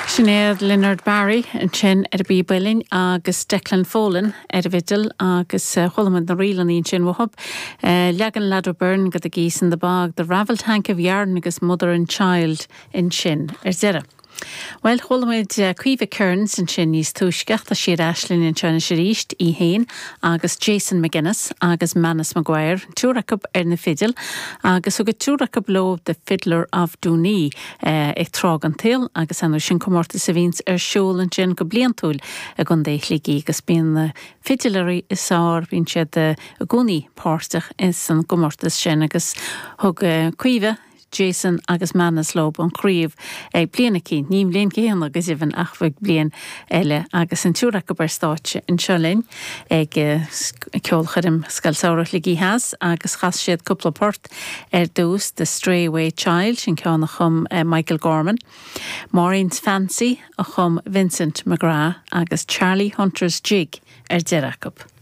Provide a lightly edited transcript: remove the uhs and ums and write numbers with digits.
Sin iad Leonard Barry ansin ar an bpíob uilleann agus Declan Folan ar an bhfidil agus chuala muid na ríleanna ansin uathub. Leagan Lad O'Beirne de The Geese in the Bog, The Ravelled Hank of Yarn agus Mother and Child ansin ar deireadh. Bhuel, chuala muid Caoimhe Kearns ansin níos túisce ach tá sí ar ais linn anseo anois arís, í féin agus Jason McGuinness agus Manus Maguire, an triúr acu ar na fidil agus thug an triúr acu leo The Fiddler of Doonee ag Tráth den tSaol agus ar ndóigh sin comórtas a bhíonns ar siúl ansin go bliantúil i gContae Shligigh agus bíonn na fidiléirí is fearr, bíonn siad i gcónaí páirteach san gcomórtas sin agus thug Caoimhe Jason agus Manus leo an chraobh ag bliain eicínt, ní an bhliain chéanna go deimhin ach ag bliain eile agus an triúr acu ar stáitse anseo linn ag Ceolchoirm Scoil Samhraidh Shligigh Theas agus chas siad cúpla port ar dtús, The Stray Away Child, sin ceann a chum Michael Gorman, Maureen's Fancy a chum Vincent McGrath agus Charlie Hunter's Jig ar deireadh acu.